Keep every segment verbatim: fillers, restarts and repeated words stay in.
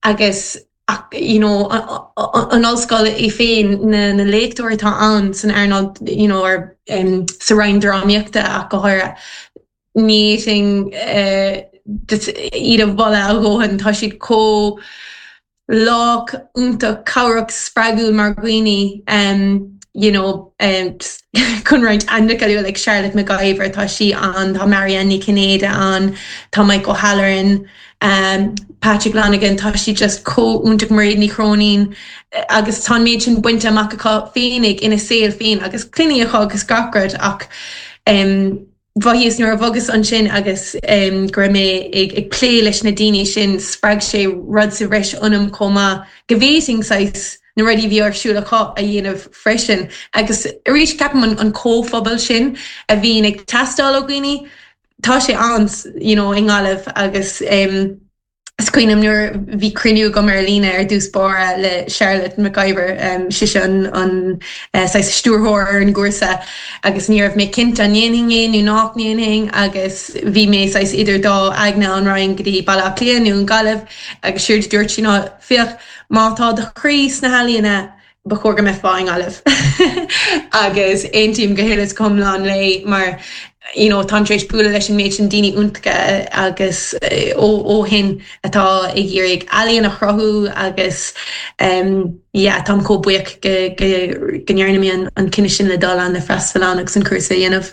Agus you know, an ollscoil í féin na, na léachtóirí atá ann san earnáil you know, or, um, sa roinn drámaíochta ach go háirithe ní sin uh, iad a mholadh a dhóthain tá siad chomh lách iontach cabhrach spreagúil mar dhaoine um, you know, um, chun roinnt ainmneacha like Charlotte McIver tá sí ann tá Marianne Ní Cinnéide ann tá Mike O'Halloran um, Patrick Lanigan tá sí just chomh hiontach Mairéad Ní Chróinín agus tá méid sin bainte amach acu féinig ina saol féin agus clainne acu agus gach rud ach um, Bhíos nuair a bhogas ansin agus um, go raibh mé ag, ag plé leis na daoine sin spreag sé rud sa bhreis ionam chomh maith go bhféadfainn saghas na rudaí bhí ar siúl acu a dhéanamh freisin. agus arís ceapaim an, an comhphobal sin a bhíonn ag teastáil ó dhaoine, tá sé ann you know, i nGaillimh agus um, Is cuimhin nuair bhí cruinniú agam ar líne ar dtús báire le Charlotte McIver um, sí an an uh, stiúrthóir ar an gcúrsa agus ní raibh mé cinnte an ndéanfainn é nó nach ndéanfainn agus bhí mé saghas idir dá aigne an raghainn go dtí Baile Átha Cliath nó an Ghaillimh agus séard dúirt sí ná féach má tá do chroí sna healaíona ba chóir go mbeifeá i nGaillimh. agus aontaím go huile is go hiomlán léi mar you know, táim tar éis bualadh leis an méid sin daoine iontacha agus eh, ó ó shin atá ag iarraidh ealaíon a chruthú agus um, yeah, táim chomh buíoch go go go ndearna mé an, an cinneadh sin le dul ann le freastal ann agus an cúrsa a dhéanamh.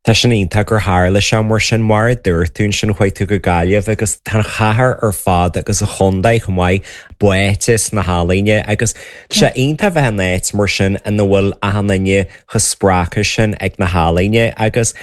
Tá sin iontach gur tharla sé mar sin mar a dúirt tú ansin chuaigh tú go Gaillimh agus tá an chathair ar fad agus an contae chomh maith báite sna healaíona agus sé iontach bheith in áit mar sin ina bhfuil achan duine chomh spreagtha sin ag na healaíona agus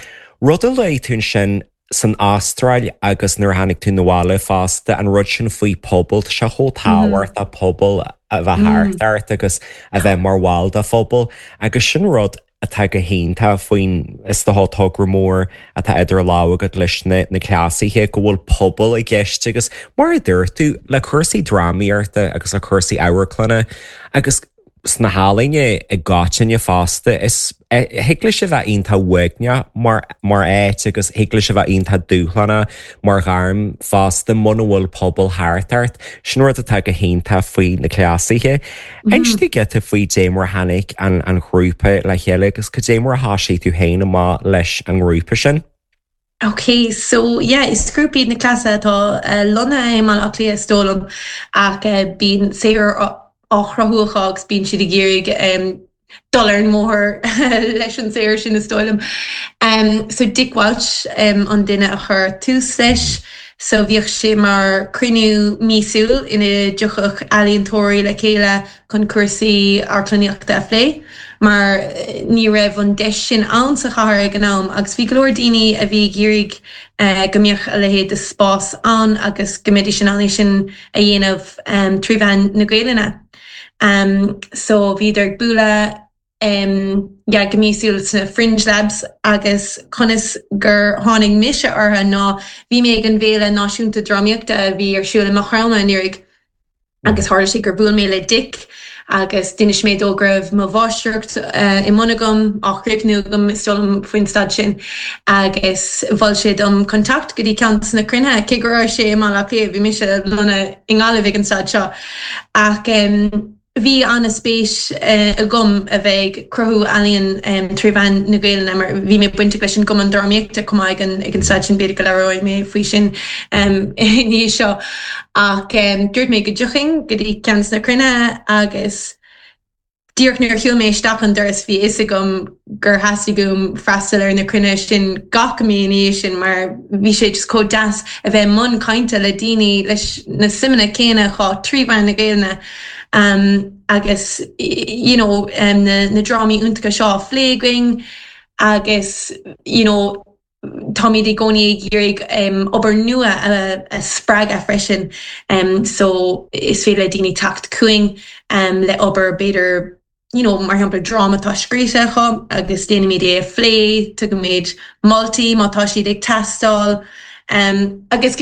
rud a luaigh tú sin san Astráil agus nuair a tháinig tú abhaile fosta an rud sin faoi pobal sé chomh tábhachtach pobal a bheith thart ort agus a bheith mar bhall de phobal agus sin rud atá go hiontach faoin is dócha togra mór atá idir lámha agat leis na na cleasaithe go bhfuil pobal i gceist agus mar a dúirt tú le cúrsaí drámaíochta agus le cúrsaí amharclainne agus sna healaíona i gcoitinne fosta is thig leis a bheith iontach uaigneach mar mar áit agus thig leis a bheith iontach dúshlánach mar ghairm fosta muna bhfuil pobal thart ort sin rud atá go hiontach faoi na cleasaithe. Inis dúinn giota faoi dé mar tháinig an an grúpa le chéile agus cad é mar a thosaigh tú féin amach leis an ngrúpa sin. Ok, so yeah, is grúpa iad na cleasaithe atá uh, lonnaithe i mBaile Átha Cliath is dóigh liom ach uh, bíonn saothar á chruthú acu agus bíonn siad ag iarraidh um, dul ar an mbóthar leis an saothar sin is dóigh liom. Um, so Dick Walsh um, an duine a chur tús leis, so bhíodh sé mar cruinniú míosúil ina dtiocfadh ealaíontóirí le chéile chun cúrsaí amharclannaíochta a phlé, mar ní raibh an deis sin ann sa chathair ag an am agus bhí go leor daoine a bhí ag iarraidh uh, go mbeadh a leithéid de spás ann agus go mbeidís in ann sin a dhéanamh um, trí mheán na Gaelainne. Um, so bhíodar ag bualadh um, yeah, go míosúil sna Fringe Labs agus conas gur tháinig mise orthu ná bhí mé ag an bhFéile Náisiúnta Drámaíochta a bhí ar siúl i Maigh Chromtha anuraidh agus tharla sé gur bhuail mé le Dick agus d'inis mé dó go raibh mo mháistreacht uh, i mbun agam á chríochnú agam is dóigh liom faoin staid sin agus mhol sé dom teacht go dtí ceann de na cruinnithe cé go raibh sé i Mbaile Átha Cliath bhí mise lonnaithe i nGaillimh ag an staid seo ach um, Bhí an-spéis uh, agam a bheith ag cruthú ealaíon um, trí mheán na Gaelainne mar bhí mé bainteach leis an gcumann drámaíochta chomh maith ag an ag an staid sin b'fhéidir go labhróidh mé faoi sin um, ní seo ach um, dúirt mé go dtiocfainn go dtí ceann de na cruinnithe agus díreach nuair a shiúil mé isteach an doras bhí fhios agam gur theastaigh uaim freastal ar na cruinnithe sin gach mí ina dhiaidh sin mar bhí sé just chomh deas a bheith mbun cainte le daoine leis na suimeanna céanna acu trí mheán na Gaelainne um, agus you know, um, na, na drámaí iontacha seo á phlé againn agus you know, táimid i gcónaí ag iarraidh um, obair nua a, a spreagadh freisin um, so is féidir le daoine teacht chugainn um, le obair b'fhéidir you know, mar shampla dráma atá scríte acu agus déanaimid é a phlé, tugaimid moltaí má tá siad ag teastáil um, agus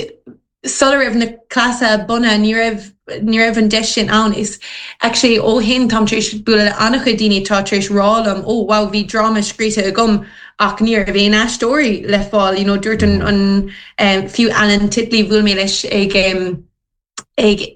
sula raibh na cleasaithe bunaithe ní raibh ní raibh an deis sin ann is actually ó shin táim tar éis bualadh le an-chuid daoine atá tar éis rá liom ó wow bhí dráma scríte agam ach ní raibh aon aisteoirí le fáil you know, dúirt an, an um, fiú Alan Titley bhuail mé leis ag um, ag